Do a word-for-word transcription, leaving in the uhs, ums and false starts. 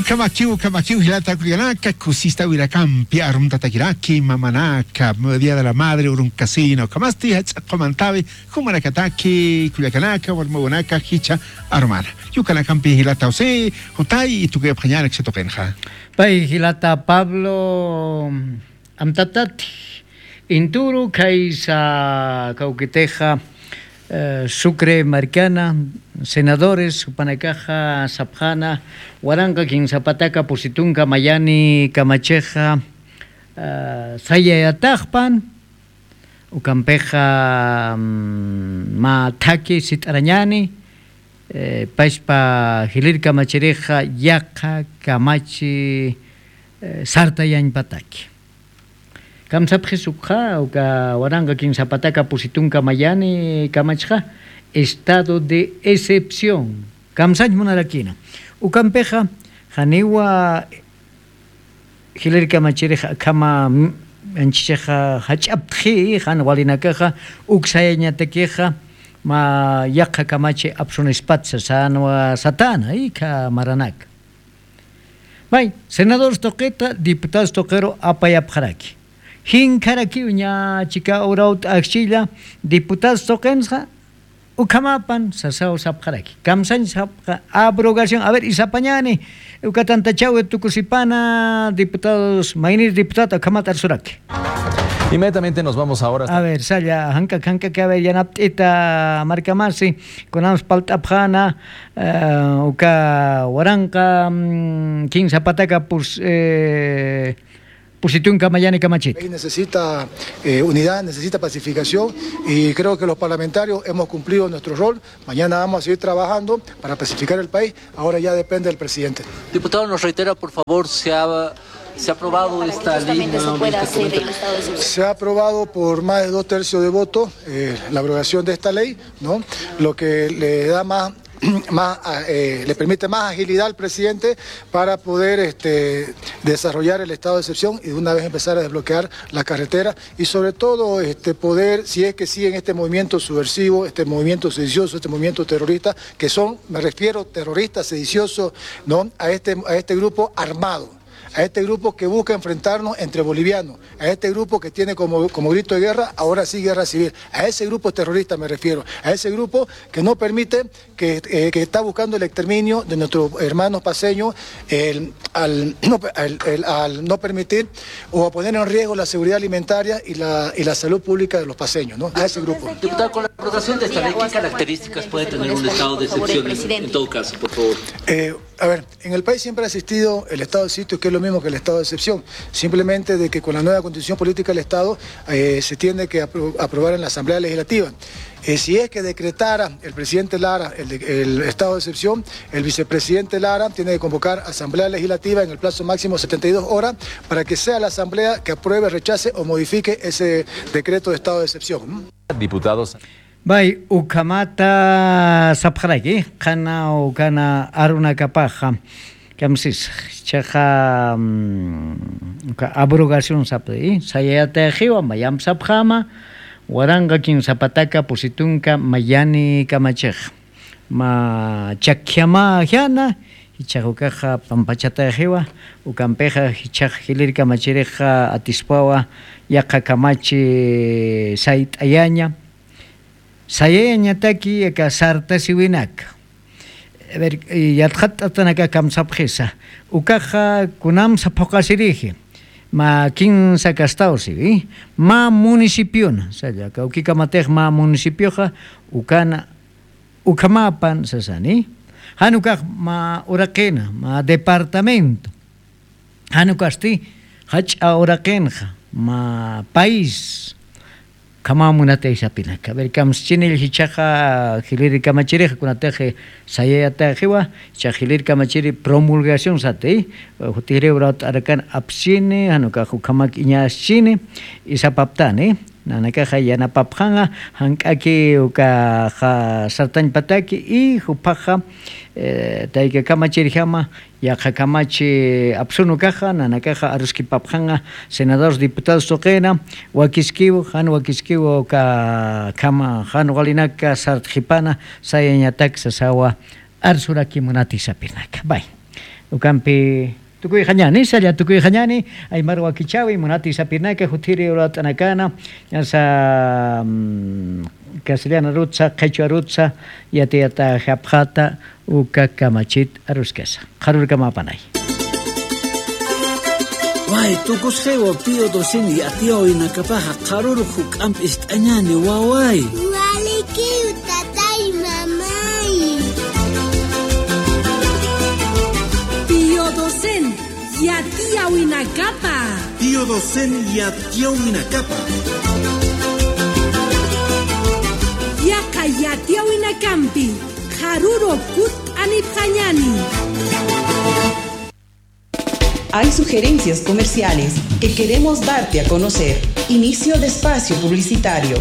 Kamakiw kamakiw jilata kullakanaka kusista wirakampi arumtatakiraki mamanaka día de la madre urunkasina ukhamasti jach'a q'umantawi jumanakataki kullakanaka warmawanaka jicha arumana. Yukanakampi jilata josé jutay tukuyapxañanak satuqinxa. Pay jilata pablo amtatati inturu khaysa kawkitixa sucre markana senadores jupanakaxa sapxana waranqa kinsapataka pusitunka mayani kamachixa sayayataxpan ukampixa mä thaki sit'arañani paspa jilïr kamachirixa yaqha kamachi sartayañpataki. Kamsapxis ukxa uka waranqa kinsapataka pusitunka mayani kamachxa estado de excepción kamsañ munarakina ukampixa janiwa jilïr kamachirix akhama anchichixa jach'aptxi jan walinakaxa uksayañatakixa mä yaqha kamachi apsunispat sasanwa satana ikha maranaka. May senadores tuqita diputados tuqiru apayapxaraki jinkharakiw ña chika urawt'axchilla diputados tuqinsa ukhamapan sasaw sapxaraki kamsañ sapxa abrogación a ver isapañani ukatantachawi tukusipana diputados maynir diputado ukhamat arsuraki. Inmediatamente nos vamos ahora a ver salla jank'ak jank'ak a ver yanapt'ita markamasi kunams palt'apxana uka waranqa kinsapataka pus pusitunka mayani kamachita. Necesita unidad, necesita pacificación y creo que los parlamentarios hemos cumplido nuestro rol. Mañana vamos a seguir trabajando para pacificar el país. Ahora ya depende del presidente. Diputado, nos reitera, por favor, se ha se ha aprobado esta ley. Se ha aprobado por más de dos tercios de voto la aprobación de esta ley, ¿no? Lo que le da más más le permite más agilidad al presidente para poder este, desarrollar el estado de excepción y de una vez empezar a desbloquear la carretera y sobre todo este, poder, si es que siguen este movimiento subversivo, este movimiento sedicioso, este movimiento terrorista, que son, me refiero, terroristas sediciosos, ¿no? a, este, a este grupo armado, a este grupo que busca enfrentarnos entre bolivianos, a este grupo que tiene como, como grito de guerra, ahora sí guerra civil, a ese grupo terrorista me refiero, a ese grupo que no permite que, eh, que está buscando el exterminio de nuestros hermanos paceños el, al, no, el, el, al no permitir o a poner en riesgo la seguridad alimentaria y la, y la salud pública de los paceños, ¿no? A ese grupo. Diputado, con la aprobación de esta ley, ¿qué características puede tener un estado de excepción en, en todo caso, por favor? Eh, a ver, en el país siempre ha existido el estado de sitio, que es lo mismo que el estado de excepción, simplemente de que con la nueva constitución política del Estado eh, se tiene que apro- aprobar en la Asamblea Legislativa. Eh, si es que decretara el presidente Lara el, de- el estado de excepción, el vicepresidente Lara tiene que convocar asamblea legislativa en el plazo máximo de setenta y dos horas para que sea la asamblea que apruebe, rechace o modifique ese decreto de estado de excepción. Diputados. Bay ukhamata sapxaraki qhana ukana arunakapaxa kamsis chaxa abrogación sapxi sayayataxiwa mayamp sapxama waranqa kinsapataka pusitunka mayani kamachix ma chakjama jana jichhax ukaxa pampachataxiwa ukampixa jichhax jilïr kamachirixa atispawa yaqha kamachi sayt'ayaña sayayañataki aka sartasiwinaka. Yatxatt'atanaka kamsapxisa ukaxa kunamsa phuqasiriji ma kinsa kastawsiwi ma municipiona salla kawkikamatix ma municipioxa ukana ukhamapan sasani jan ukax ma uraqina ma departamento jan ukasti jach'a uraqinxa ma país ukhamaw munatay sapinaka ver kamschinil jichhaxa jilïr kamachirixa kunatix sayayataxiwa jichhax jilïr kamachiri promulgación sati jutirï urawt'arakan apschini jan ukax ukhamak iñaschini isapaptani nanakaxa yanapapxanxa jank'aki ukaxa sartañpataki y juphaxa tayka kamachirjama yaqha kamachi apsun ukaxa nanakaxa aruskipapxanxa senadores diputados tuqina wakiskiw jan wakiskiw ukakhama jan walinaka sartxipana sayañatak sasawa arsuraki munati sapinaka bay Ukampi tukuyxañani, salla tukuyxañani, aymar wakichäwi, munati sapinaka, jutiri urat'anakana, ñasa, mm, castellanarutsa, qhichwarutsa, yatiyata japxata, uka kamachit aruskasa. Qharurkamapanay. Way, tukusxiwa Pío Docen yatiyawinakapaxa qharuru juk'amp ist'añani, waway. Walikiw, tatay, mamay. Pío Docen yatiyawinakapa. Pío Docen yatiyawinakapa. Yaqha yatiyawinakampi qharuru kutt'anipxañani. Hay sugerencias comerciales que queremos darte a conocer. Inicio de espacio publicitario.